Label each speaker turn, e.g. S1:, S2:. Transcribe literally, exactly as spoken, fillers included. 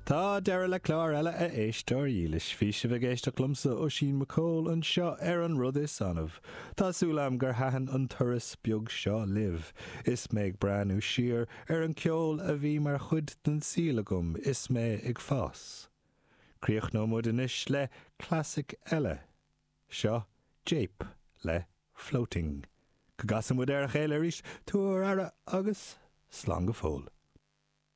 S1: Tá deireadh le clár eile a éisteoir dhílis bhí sibh ag éisteacht liomsa Oisín McCall anseo ar an rud is annamh. Tá súil agam gur thaitin an turas beag seo libh. Is mé ag breathnú siar ar an ceol a bhí mar chuid den saol agam is mé ag fás. Críochnóidh muid anois le clasaic eile. Seo Jape le Floating. Go gcasfaidh muid ar a chéile arís tabhair aire agus slán go fóill.